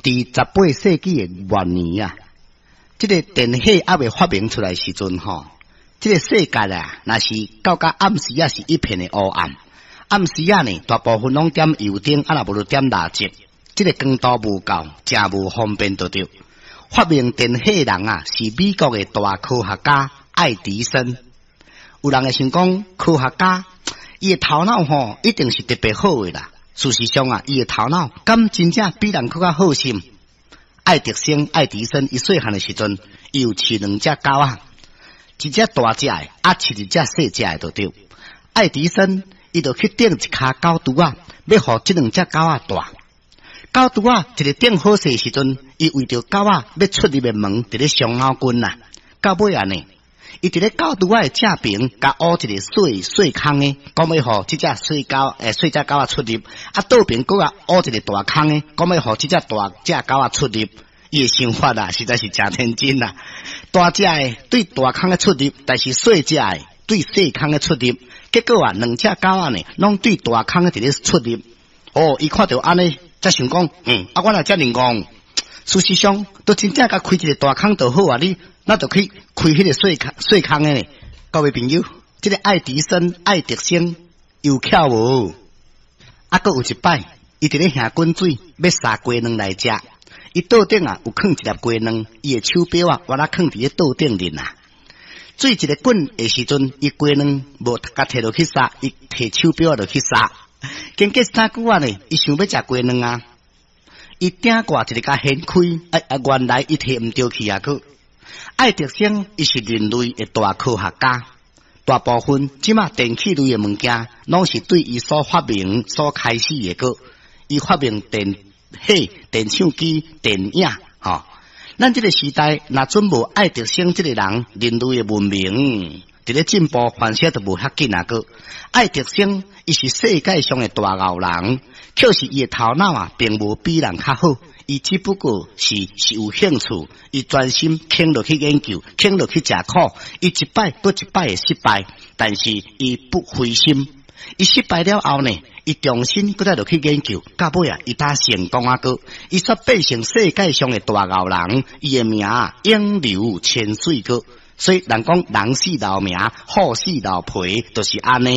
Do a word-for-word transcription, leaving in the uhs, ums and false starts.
佇十八世紀的末年啊，這個電火猶未發明出來時陣吼，這個世界啊，若是到甲暗時仔是一片的烏暗。暗時仔呢，大部分攏點油燈，啊若無就點蠟燭。這個光度無夠，誠無方便就對。發明電火人啊，是美國的大科學家愛迪生。有人會想講，科學家伊的頭腦吼，一定是特別好的啦。事實上啊，伊的頭腦敢真正比人閣較好心。愛迪生、愛迪生，伊細漢的時陣，伊有飼兩隻狗仔，一隻大隻的，啊，飼一隻細隻的，就對。愛迪生伊就去頂一跤狗櫥仔，欲予這兩隻狗仔蹛。狗櫥仔一个頂好勢時陣，伊為著狗仔欲出入的門，佇咧傷腦筋啦。到尾仔呢，伊佇咧狗櫥仔的正爿，共挖一個細細空的，講欲予這隻細狗，欸，細隻狗仔出入。啊，倒爿閣共挖一個大空的，講欲予這隻大隻狗仔出入。伊的想法啊，實在是誠天真啦。大隻的對大空的出入，但是細隻的對細空的出入，結果啊，兩隻狗仔呢，攏對大空的佇咧出入。哦，伊看著按呢，才想講，嗯，啊，我若遮爾戇，事實上，都真正共開一個大空就好啊！你那就去開彼個細空細空的呢？各位朋友，這個愛迪生、愛迪生有巧無？啊，閣有一擺，伊佇咧下滾水，欲煠雞卵來食。伊桌頂啊有囥一粒雞卵，伊的手錶啊，原來囥佇咧桌頂面啊。水一个滾的時陣，伊雞卵無共提落去煠，伊提手錶落去煠。經過三久仔呢，伊想欲食雞卵啊，伊鼎蓋一个共掀開，啊啊，原來伊提毋著去啊！閣愛迪生伊是人類的大科學家，大部分這馬電器類的物件，攏是對伊所發明、所開始的閣。伊發明電火、電唱機、電影，吼。咱這個時代，若準無愛迪生這個人，人類的文明佇咧進步，反正就無遐緊啊！閣愛迪生，伊是世界上的大牛人，可是伊的頭腦啊，並無比人較好，伊只不過是是有興趣，伊專心肯落去研究，肯落去食苦，伊一擺閣一擺的失敗，但是伊不灰心，伊失敗了後呢，伊重新閣再落去研究，到尾啊，伊才成功啊！閣伊煞變成世界上的大牛人，伊的名永留千歲閣。所以人講人死留名，虎死留皮，就是按呢。